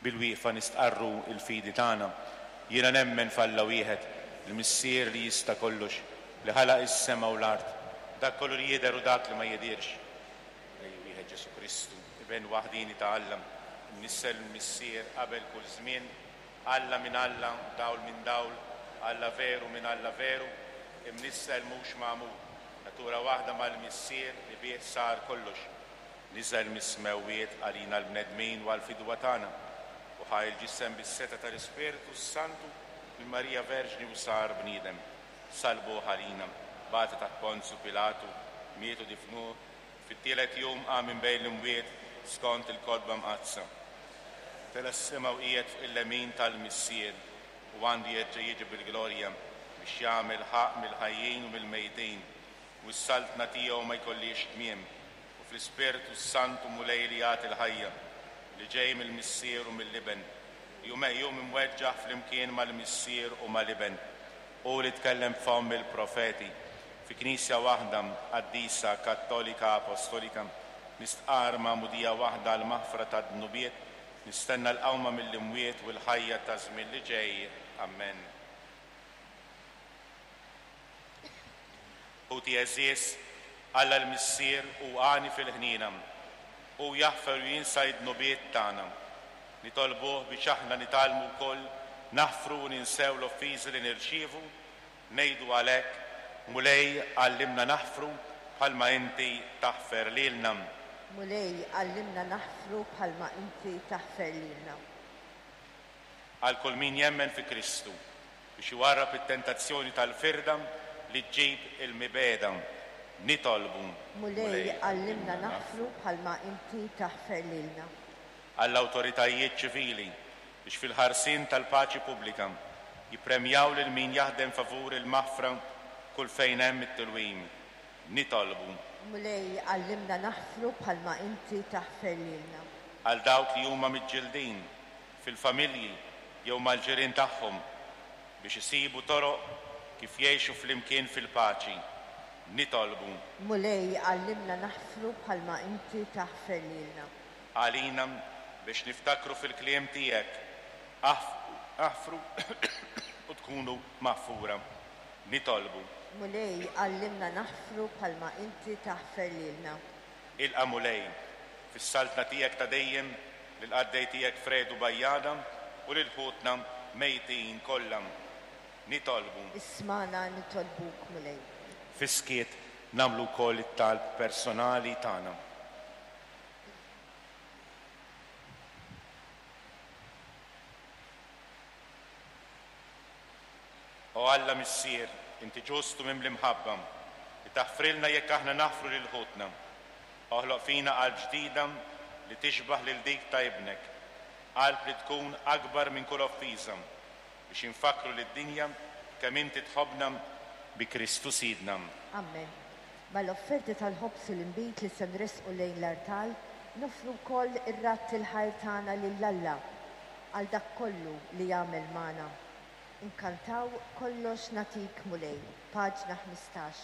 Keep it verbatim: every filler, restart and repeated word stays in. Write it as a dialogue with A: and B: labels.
A: Bil-wieqfa nistqarru l-fidi tagħna. Jiena nemmen f'Alla wieħed, il-Missier li jista' kollox, li ħalaq is-sema u l-art, dak kollu li jidher u dak li ma jidhirx. Mulej wieħed Ġesù Kristu, Iben waħdieni ta' Alla, imnissel mill-Missier qabel kull żmien, Alla minn Alla, dawl minn dawl, Alla veru minn Alla veru, imnissel mhux magħmul, natura waħda mal-Missier li bih sar kollox. Niżel mis-smewwiet għalina l-bnedmin u għall-fidwa tagħna, u ħa l-ġisem bis-setgħa tal-Ispirtu s-Santu minn Marija Verġni u sar bniedem. Sallbuh għalina, bata taħt Ponzju Pilatu, miet u difnuh, fit-tielet jum qam minn bejn l-imwiet skont il-Kotba Mqaddsa. Tela' s-sema u qiegħed fuq il-lemin tal-Missier, u għandu jerġa' jiġi bil-glorja biex jagħmel ħaqq mill-ħajjin u mill-mejtin, u s-saltna tiegħu ma jkollhiex tmiem. U fl-Ispirtu s-Santu Mulej li jagħti l-ħajja, li ġej mill-Missier u mill-Iben, li hu meqjum imweġġaħ flimkien mal-Missier u mal-Iben, hu li tkellem b'fomm il-profeti, fi Knisja waħda, qaddisa, kattolika, apostolika, nistqarr magħmudija waħda għall-maħfra tad-dnubiet, nistenna l-qawma mill-imwiet u l-ħajja taż-żmien li ġej. Amen. Ħuti għeżież, Alla l-Missier hu għani fil-ħniena. Hu jaħfer u jinsa d-dnubiet tagħna. Nitolbuh biex aħna nitgħallmu wkoll naħfru u ninsew l-offiżi li nirċievu. Ngħidu għalhekk, Mulej, għallimna naħfru bħalma inti taħfer lilna.
B: Mulej, għallimna naħfru bħalma inti taħfer lilna.
A: Għal kull min jemmen fi Kristu, biex iwarrab it-tentazzjoni tal-firda li ġġib il-mibegħda, nitolbu.
B: Mulej, għallimna naħfru bħalma inti taħfer lilna.
A: Għall-awtoritajiet ċivili, biex fil-ħarsien tal-paċi pubblika jippremjaw lil min jaħdem favur il-maħfra kull fejn hemm it-tilwim, nitolbu.
B: Mulej, għallimna naħfru bħalma inti taħfer lilna.
A: Għal dawk li huma miġġildin fil-familji jew mal-ġirien tagħhom biex isibu toroq kif jgħixu flimkien fil-paċi, nitolbu.
B: Mulej, għallimna naħfru bħalma inti taħfer lilna.
A: Għalina biex niftakru fil-kliem tiegħek, aħfru u tkunu maħfura, nitolbu.
B: Mulej, għallimna naħfru bħalma inti taħfer lilna.
A: Ilqa' Mulej, fis-saltna tiegħek ta' dejjem, lill-qaddej tiegħek Fredu Bajjada u lil ħutna mejtin kollha. Nitolbu.
B: Ismagħna nitolbuk, Mulej.
A: Fis-skiet nagħmlu wkoll it-talb personali tagħna. O Alla Missier, inti ġust u mimli mħabba, li taħfrilna jekk aħna naħfru lil ħutna. Oħloq fina qalb ġdida li tixbaħ lil dik ta' ibnek, qalb li tkun akbar minn kull offiża, biex infakkru lid-dinja kemm inti tħobbna bi Kristu Sidna.
B: Amen. Mal-offerti tal-ħobż u l-inbid li se nresqu lejn l-artal, noffru wkoll ir-radd il-ħajr tagħna lil Alla għal dak kollu li jagħmel magħna. Inkantaw Kollox Nagħtik Mulej, paġna ħmistax.